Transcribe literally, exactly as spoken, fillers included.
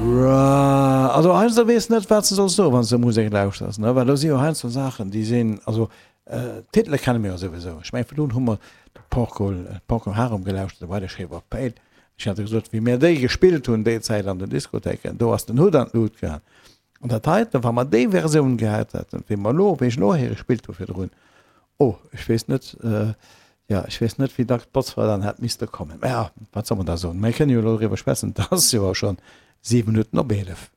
Also heiansdo weess net, wat s de solls soen, wann s de Musek lauschters, ne? Well do si jo heiansdo Saachen, déi sinn, also d'Titele kenne mir jo souwisou. Ech mengen, virdrun hu mer de Porcol, Procol Harum gelauschtert, de By the Shape of Pale. Ech hat gesot, wéi mir déi gespillt hunn déi Zäit an den Diskothéiken, do ass den Hutt an d'Lut gaang. An dat heiten, wa mer déi Versioun gehat hätten, wéi mer elo, wéi ech elo héiere gespillt hu virdrun, oh, ech weess net, jo, ech weess net, wéi dacks d'Botzfra dann hätt misste kommen. Mä ja, wat soll mer da soen? Mir kënnen jo elo driwwer schwätzen, et ass jo och schonn siwe Minutten op eelef.